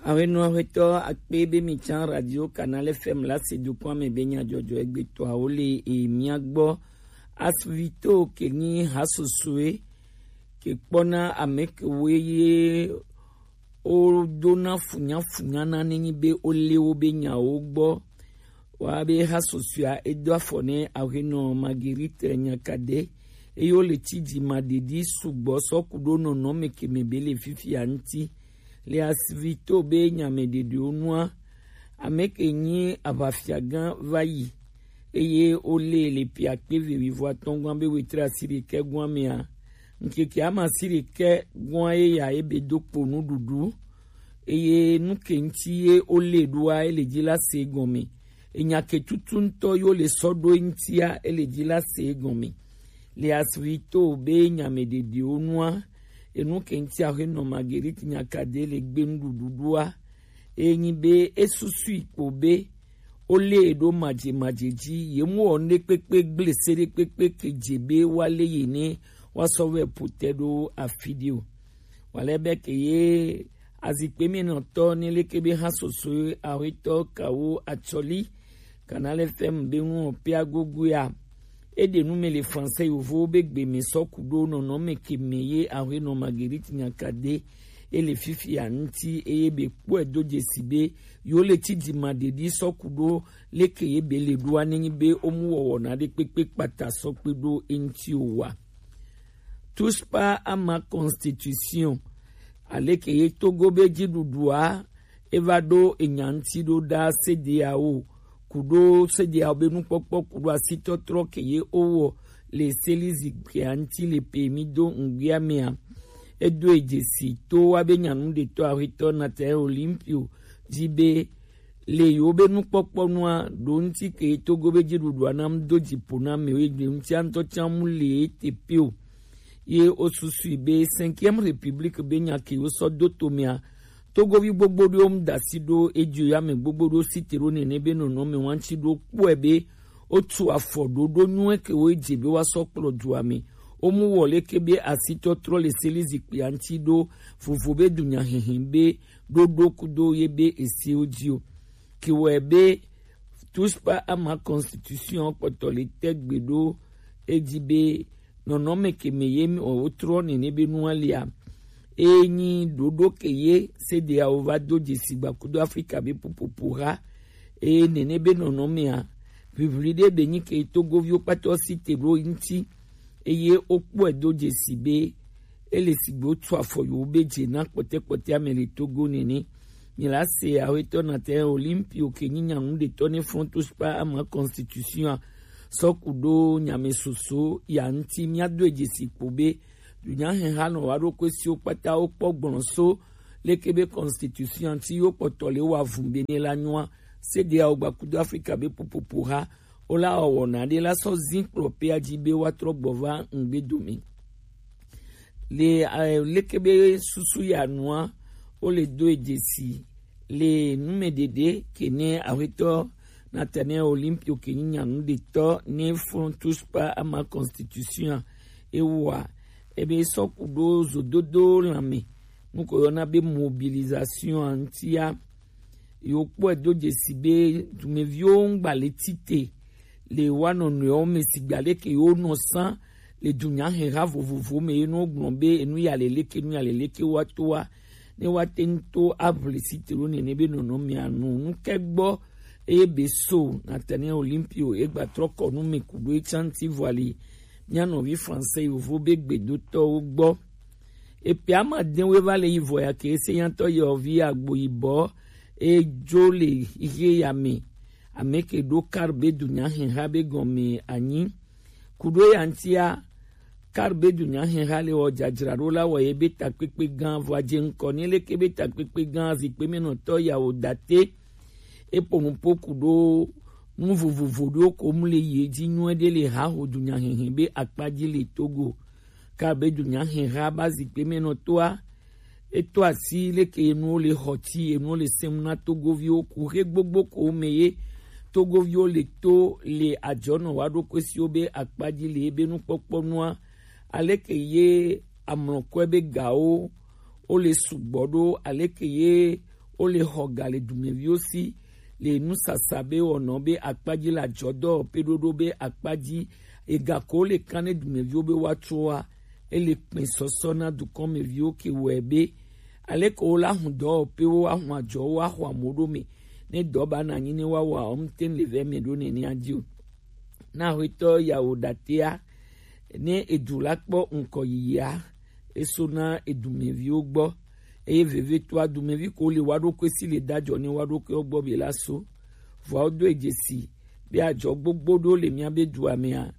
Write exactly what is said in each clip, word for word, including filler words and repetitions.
Awenɔ aƒetɔ akpe be mi can Radio Canal F M la se dukɔa me be nya jɔjɔ egbetɔawo le e mia gbɔ. Asvito ke nyi hasosoe ke kpɔna ame kewoe ye wodona funyafunya na nenyi be woléwo be nyawo gbɔ. Wa be hasosoea edo afɔ ne aƒenɔ Marguerite Nyakade eye wole tsi dzimaɖeɖi sugbɔ sɔ ku ɖo nɔnɔme ke me be le fifia ŋuti. Le Asvito be nya me ɖeɖewo nua, ame ke nyi aʋafiagã va yi eye wolée le ƒe akpe eve wuiatɔ̃ gɔ̃a be wetri asiɖekɛ gɔ̃a mea, ŋkeke ame asiɖekɛ gɔ̃a ye ya ebe do kpo nuɖuɖu eye nu ke ŋuti ye wolée ɖoa ele dzi la se gɔme. Enya ke tutu ŋutɔ yo le sɔ ɖo ŋutia ele dzi la se gɔme. Le Asvito be nya me ɖeɖewo nua, enu ke ŋuti aƒenɔ Marguerite Nyakade le gbe nuɖuɖu ɖoa, enyi be esusui kpo be wolée ɖo madzemadze dzi, ye mu wɔ nuɖekpekpe gble se ɖekpekpe ke dze be woalé ye ne woasɔ vɛ ƒo te ɖo afi ɖe o. Wale be ke ye azikpe me nɔtɔ ne leke be hasoso aƒetɔ kawo atsɔli Canal F M be ŋu ɔpea gogoea. Eɖe nu me le français yovowo be gbe me sɔ ku ɖo nɔnɔme ke me ye aƒenɔ Marguerite Nyakade ele fifia ŋuti eye be kpɔe do dzesi be yo le tsi dzimaɖeɖi sɔ ku ɖo leke ye be le ɖoa nenyi be womu wɔwɔ na ɖe kpekpe kpata sɔ kpe ɖo eŋuti o wa. Touche pas à ma constitution. Aleke ye Togo be dziɖuɖua eva ɖo enya ŋuti ɖo ɖa C D A O ku ɖo C D A O be nukpɔkpɔ ku ɖo asitɔtrɔ ke ye wowɔ le seli zikpuia ŋuti le pe mi do ŋgbia mea. Edo edzesi to wa be nyanu ɖetɔ aƒetɔ Nathaniel Olympio dzi be le yewo be nukpɔkpɔ nua ɖo ŋuti ke Togo be dziɖuɖua nam do dziƒo na amewo egbe ŋutia ŋutɔ tsã mu le ete pe o. Ye wosusui be Cinquième République be nya ke wosɔ do tomea, Togovi gbogbo ɖewo mu da asi ɖo edzi o, ya ame gbogbo ɖewo si te ɖo nene be nɔnɔme wa ŋuti ɖo kpɔe be wotu afɔ ɖoɖo nyuie ke wo edze be woasɔ kplɔ dua me. Womu wɔ leke be asitɔtrɔ le seli zikpuia ŋuti ɖo vovo be dunyahehe be ɖoɖo kudo ye be esiwo dzi o. Ke wɔe be Touche pas à ma constitution kpɔtɔ le te gbe ɖo edzi be nɔnɔme ke me ye mi wotrɔ nene be nua lia. Enyi ɖoɖo ke ye C D A O va do dzesi gba kudo Afrika be popopo ha. Eye nene be nɔnɔmea, ʋiʋli ɖe be nyi ke Togoviwo kpata si te ɖo ŋuti. Eye wokpɔe do dzesi be ele sigbe wotu afɔ yewo be dze na kpɔtɛkpɔtɛ ame le Togo nene. Mi la se aƒetɔ Nathaniel Olympio ke nyi nyanu ɖetɔ ne Front Touche pas à ma constitution a sɔ ku ɖo nyame soso ya ŋuti. Mia do dzesi kpo be dunyaheha nɔ wa ɖo kwe siwo kpata wo kpɔ gblɔ so leke be constitution ŋuti yo kpɔtɔ le wa vun be ne la nyua. C D A O gba kudo Afrika be popopo ha wo la wɔwɔ na ɖe la sɔ zin kplɔ pea dzi be wa trɔ gbɔ va ŋgbe dome. Le eh, leke be susu ya nua wo le do dzesi le nume ɖeɖe ke ne aƒetɔ Nathaniel Olympio ke nyi nyanu ɖetɔ ne Front Touche pas à ma constitution ewa ebe sɔ ku ɖo zododo lãme nuko yɔna be mobilisation ŋutia. Yo kpɔe do dzesi be dumeviwo ŋgba le tite le wa nɔnɔewo me sigba leke yo nɔ san le dunyaheha vovovo me ye no gblɔ be enu ya le leke enu ya le leke wa to wa ne wa te ŋu to aʋli si te ɖo nene be nɔnɔmea nu nu ke gbɔ eye be so Nathaniel Olympio egba trɔ kɔ nu me ku ɖo etsã ŋuti vɔ ali mia nɔvi français yovo be gbedotɔwo gbɔ. Epe ama de wo va le yi vɔ ya ke se nyatɔ yɔ vi agbo yibɔ edzo le ihe ya me. Ame ke ɖo kar be dunyaheha be gɔme anyi. Ku ɖo ya ŋutia, kar be dunyaheha le wɔ dzadzraɖo la wɔ ye be takpekpe gã vɔ adze ŋkɔ ne leke be takpekpe gã zikpe me nɔtɔ ya wo date. Eƒo nuƒo ku ɖo nu vovovo ɖewo ko mu le yi edzi nyuie ɖe le haho dunyahehe be akpa dzi le Togo. Ka be dunyaheha ba zikpe me nɔtɔa, eto asi leke enuwo le xɔ ti enuwo le sem na Togoviwo ku xe gbogbo ko me ye Togoviwo le to le adzɔnɔ wa ɖo kwe siwo be akpa dzi le ebe nukpɔkpɔ nua, aleke ye amlɔkɔe be gawo wo le sugbɔ ɖo, aleke ye wo le xɔ ga le dumeviwo si le nusasa be wɔnɔ be akpa ji le ajɔdɔ pe ɖoɖo be akpa ji, ega ko wo le kan ne dumeviwo be woatso wa, e le kpɛn sɔsɔ na dukɔnmeviwo ke wɔe be aleke wo la hun dɔwɔƒewo, ahun ajɔwo, axɔ amewo ɖo me, ne dɔ ba na anyi ne woawɔ a, wo ŋute le vɛ me ɖo nenea ji o. Na Axwetɔ Yawo Datea, ne edu la kpɔ ŋkɔ yiyia, eso na edumeviwo gbɔ, eye vevetoa dumevi ko le wa ɖokui si le dajɔ ne wa ɖokuiwo gbɔ be la so. Vɔa wodo e dzesi be ajɔ gbogbo ɖo le mía be dua mea,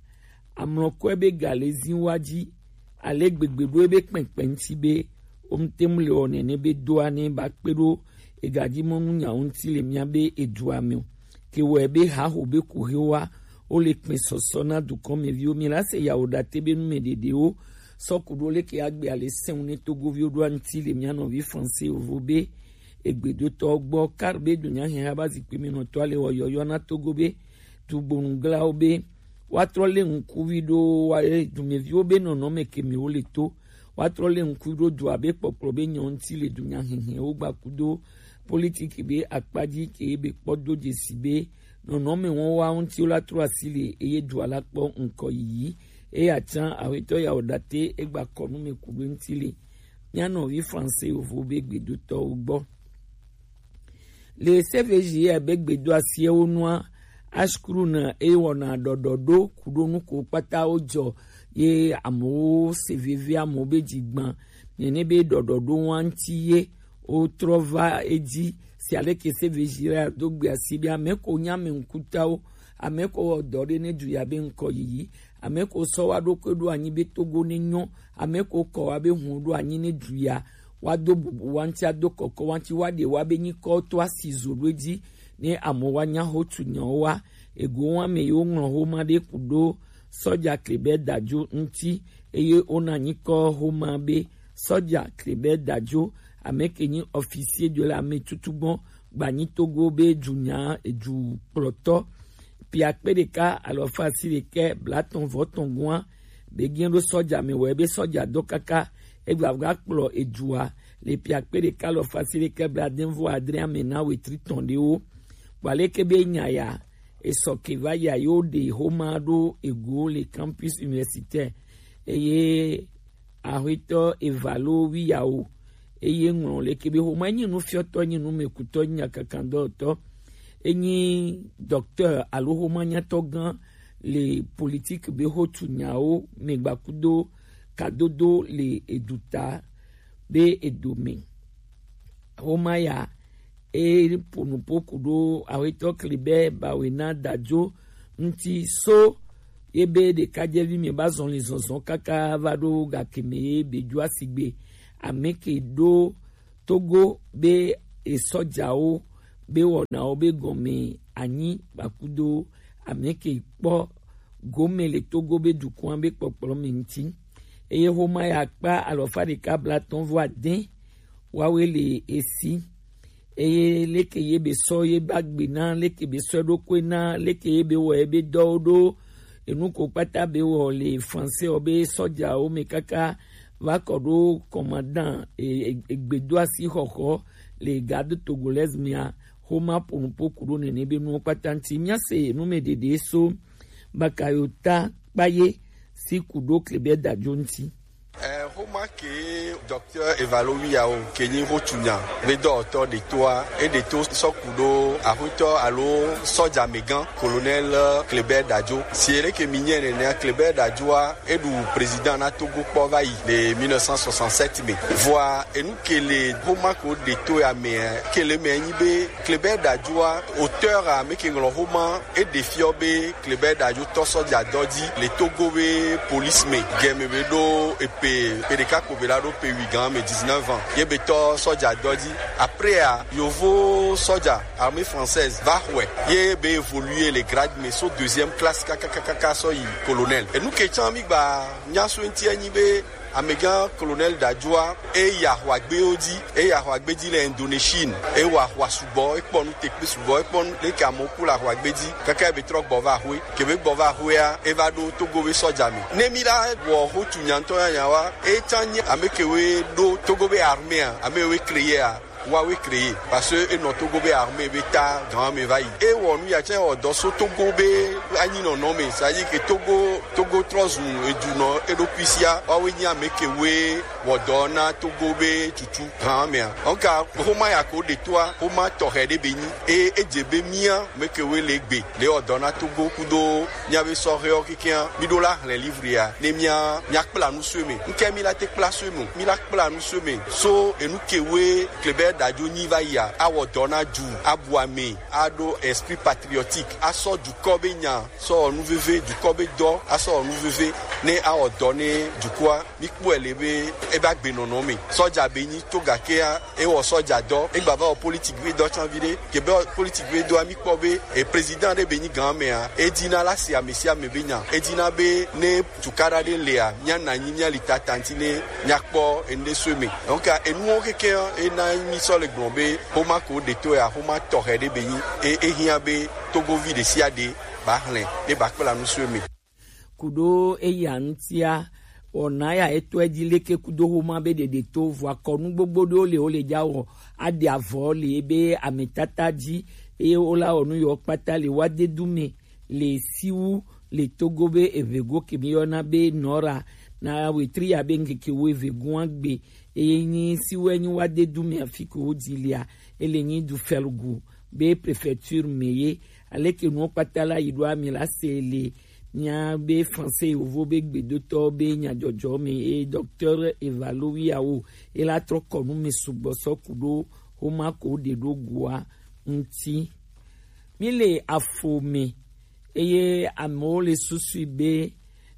amlɔkɔe be ga le zi wa ji, ale gbegbe ɖo ebe kpɛnkpɛn ŋuti be wo ŋute mu le wɔ nene be doa ne ba kpe ɖo egaji mɔnu nyawo ŋuti le mía be edua me o. Ke wɔe be haho be kuxewoa, wo le kpɛn sɔsɔ na dukɔnmeviwo. Mi la se Yawo Date be nu me ɖeɖewo sɔ ku ɖo leke agbe ale sɛn ne Togoviwo ɖo aŋuti le mía nɔvi Français yovo be egbedotɔwo gbɔ, kar be dunya hɛn haba zikpui me nɔtɔ ale wɔ yɔyɔ na Togo be dugbonuglawo be woatrɔ lé ŋkuvi ɖo wa, e, dumeviwo be nɔnɔme ke me wo le to. Woatrɔ lé ŋkuvi ɖo dua be kpɔkplɔ be nyɔ ŋuti le dunya hɛhɛwo gba kudo politiki be akpa ji ke be kpɔ do dzesi be nɔnɔme wɔn wa ŋuti wo la trɔ asi le eye dua la kpɔ ŋkɔ yiyi. Eye atsan Axwetɔ Yawo Date egba kɔ nu me ku ɖo ŋuti le mía nɔvi Français yovo be gbedotɔwo gbɔ. Le C V J ya be gbedo asiwo nua, ashkru na e wɔna ɖɔɖɔɖo kuɖo nuko kpata wo jɔ ye amewo se veve amewo be dzigban nene be ɖɔɖɔɖo wa ŋuti ye wotrɔ va edzi. Si aleke C V J ya do gbe asi be ame ko nya ame ŋkutawo, ame ko wɔ dɔ ɖe ne du ya be ŋkɔ yiyi, ame ko sɔ wa ɖokui ɖo anyi be Togo ne nyɔ, ame ko kɔ wa be hun ɖo anyi ne du ya wa do bubu wa ŋuti, ado kɔkɔ wa ŋuti, wa ɖe wa be nyikɔ to asi zo ɖo edzi, ne amewo wa nya ho tu nyawo wa. Ego wa me yewo ŋlɔ homa ɖe ku ɖo sɔja Klebɛ Dajo ŋuti, eye wona nyikɔ homa be sɔja Klebɛ Dajo, ame ke nyi officier de l'armée tutugbɔ gbanyi Togo be dunya edukplɔtɔ. Pia kpe ɖeka alɔfa asi ɖekɛ blatɔn vɔ tɔn gɔa be gɛn ɖo sɔja me wɛ be sɔja dɔ kaka egba va kplɔ edua le pia kpe ɖeka alɔfa asi ɖekɛ blaadɛnvɔ adre ame na wetri tɔn ɖewo. Kpɔ aleke be nya ya esɔ ke va ya yo ɖe homa ɖo ego le campus universitaire eye Axwetɔ Evalo Wiyawo eye ŋlɔ leke be homa enyi nufiɔtɔ, enyi numekutɔ, enyi nyakakandɔtɔ, enyi docteur alo homa nyatɔ gã le politique be hotu nyawo me gbakudo kadodo le eduta be edome. Homa ya e ponupo kudo Axwetɔ Klebɛ Bawena Dajo ŋuti so ye be ɖekadzevi mi ba zɔn li zɔnzɔn kaka va ɖo gake me ye be dzo asigbe ame ke ɖo Togo be esɔjawo be wɔnawo be gɔme anyi gbakudo ame ke kpɔ gome le Togo be dukɔa be kpɔkplɔ me ŋuti. Eye homa ya kpa alɔfa ɖeka blatɔn vɔ adɛ wawe le esi. Eye leke ye be sɔ ye ba gbe na, leke be sɔ ɖokui na, leke ye be wɔ ye be dɔwo ɖo, enu ko kpata be wɔ le français wɔ be sɔjawo me kaka va kɔ ɖo commandant e, e, egbedoasi xɔxɔ le garde togolaise mea, homa ponupo ku ɖo nene be nuwo kpata ŋuti. Mía se nu me ɖeɖe so Bakayota Kpaye si ku ɖo Klebɛ Dajo ŋuti. Eh, homa ke docteur Evalo Wiyawo ke nyi hotunya be dɔwɔtɔ ɖetoa, e ɖeto sɔ ku ɖo axwetɔ alo sɔjamegã colonel Klebɛ Dajo. Si ele ke mi nyɛ nenea, Klebɛ Dajoa e ɖu président na Togo kpɔ va yi le mille neuf cent soixante-sept me. Vɔa enu ke le homa ko ɖeto ya me, ke le me nyi be Klebɛ Dajoa, auteur a me ke ŋlɔ homa, e ɖe fiɔ be Klebɛ Dajo tɔ sɔja dɔ dzi le Togo be police me. Gɛme be ɖo epe, pe ɖeka ko be la ɖo pe wi gan me, dix-neuf ans. Ye be tɔ sɔja dɔ dzi. Après a, yovo sɔja, armée française, va xɔe. Ye be évoluer le grade me so deuxième classe kakakaka sɔ yi colonel. Enu ke tsã mi gba nya so ŋuti enyi be amegã colonel Dajoa, e yi ahwagbewo dzi, e yi ahwagbe dzi le Indonésie. E wɔ ahwa sugbɔ, e kpɔ nu tekpe sugbɔ, e kpɔ nu leke amewo ku le ahwagbe dzi. Kaka e be trɔ gbɔ va axwe. Ke be gbɔ va axwea, e va ɖo Togo be sɔja me. Ne mi la wɔ hotu nyantɔ nyanya wa, e tsã nyi ame ke we ɖo Togo be armée a, ame we créer a. Wa we créé, parce que e nɔ Togo be armée be ta gan me va yi. E wɔ nu ya tsɛ wɔ dɔ so Togo be anyi nɔnɔ me. C'est-à-dire que Togo, Togo trɔ zu edu nɔ eɖokui sia. Wa we nyi ame ke we wɔ dɔ na Togo be tutu gan me a. Donc, xoma ya ko ɖe toa, xoma tɔxɛ ɖe be nyi. E, e dze be mía ame ke we le gbe, le wɔ dɔ na Togo kudo mía be sɔhɛwo kekeŋ, mí ɖo la hlẽ livre ya, ne mía, mía kpla nu so eme. Ŋkɛ mí la te kpla so eme o. Mí la kpla nu so eme. So enu ke we Kléber Dadio nyi va yia, awɔ dɔ na du, abu ame, aɖo esprit patriotique, asɔ dukɔ be nya, sɔ wɔ nu veve, dukɔ be dɔ, asɔ wɔ nu veve, ne awɔ dɔ ne dukɔa. Mí kpɔe le be e ba gbe nɔnɔ me. Sɔja be nyi to gakea, e wɔ sɔja dɔ, e gba va wɔ politique be dɔ tsan vi ɖe. Ke be politique be dɔa mí kpɔ be e président ɖe be nyi gan mea, e dina la si ame sia ame be nya. E dina be ne tukaɖa ɖe lea, mía na nyi mía li tata ŋuti ne mía kpɔ enu ɖe so eme. Donc, enuwo kekeŋ e na mí sɔ le gblɔ be xoma ko ɖe to ya, xoma tɔxɛ ɖe be nyi. E, e hiã be Togovi ɖe sia ɖe ba hlẽ, ne ba kpla nu so eme. Kuɖo eya ŋutia, wɔna ya etɔe dzi leke kudo xoma be ɖeɖe to vɔ akɔnu gbogbo ɖewo le wo le dza wɔ aɖe avɔ le ebe ametata dzi eye wola wɔ nu yewo kpata le wade du me le siwu le Togo be evego ke mi yɔna be nɔra na wetri ya be ŋkeke wo evego agbe eye nyi siwu enyi wade du me afi ke wo dzi lia ele nyi du fɛlugu be préfecture me ye. Aleke nuwo kpata la yi ɖo ami la se le mía be français yovo be gbedotɔ be nyadzɔdzɔ me eye docteur Evalowiawo e la trɔ kɔ nu me sugbɔ sɔ ku ɖo xoma ko ɖe ɖo goa ŋuti. Mi le afo me eye amewo le susui be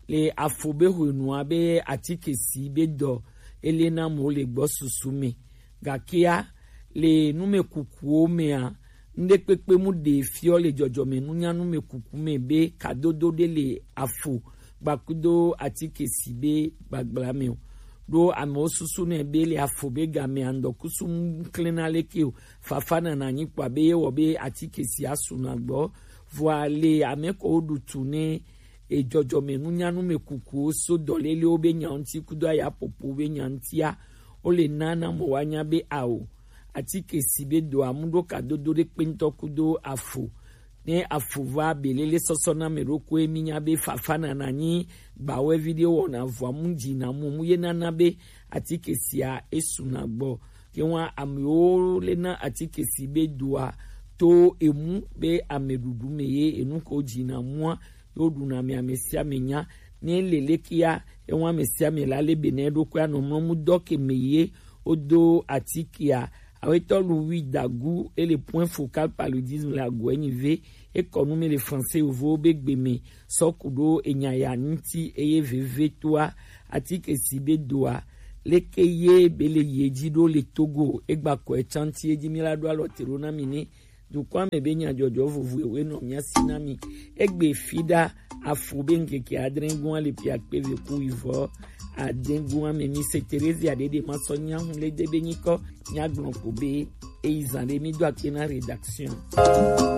le afo be hwenua be atike si be dɔ ele na amewo le gbɔ susu me. Gakea le numekukuwo mea, nuɖekpekpe mu ɖe fiɔ le dzɔdzɔme nunya numekuku me be kadodo ɖe le afo gbakudo atike si be gbagbla me o. Ɖo amewo susu nɛ be le afo be game andɔkusu ŋklena leke o. Fafa nana nyi kpɔa be ye wɔ be atike si asu na gbɔ. Vɔa le ame ko ɖu tu ne edzɔdzɔme nunya numekukuwo so dɔlelewo be nya ŋuti kudo ayapopo be nya ŋutia, wo le na na mɔ wa nya be ao atike si be do amu ɖo kadodo ɖe kpe ŋutɔ kudo afo. Ne afo va belele sɔsɔ na me ɖokui mi nya be fafa nana nyi gbawɛvi ɖe wɔna vɔa mu dzi na mu mu ye nana be atike sia esu na gbɔ. Ke wa amewo le na atike si be doa to emu be ameɖuɖu me ye enu ko dzi na mua yo ɖuna mi ame sia ame nya. Ne le lekea ewa ame sia ame la le be ne ɖokui anɔ mlɔ mu dɔ ke me ye wodo atikea. Awetɔ lu wi dagu ele point focal paludisme la goe nyi ve. Ekɔ nu me le français yovo be gbe me sɔ ku ɖo enya ya ŋuti eye veve toa atike si be doa leke ye be le ye dzi ɖo le Togo egba kɔ etsanti edzi mi la ɖo alɔ te ɖo na mi ne dukɔa me be nyadzɔdzɔ vovo ewe nɔ mia si na mi. Egbe fi ɖa afo be ŋkeke adre gua le pia kpe ve ku ivɔ ade gua me mi se Terezia ɖeɖe ma sɔ nya hu le de be nyikɔ nya gblɔ ko be eyi zan ɖe mi do akpe na rédaction.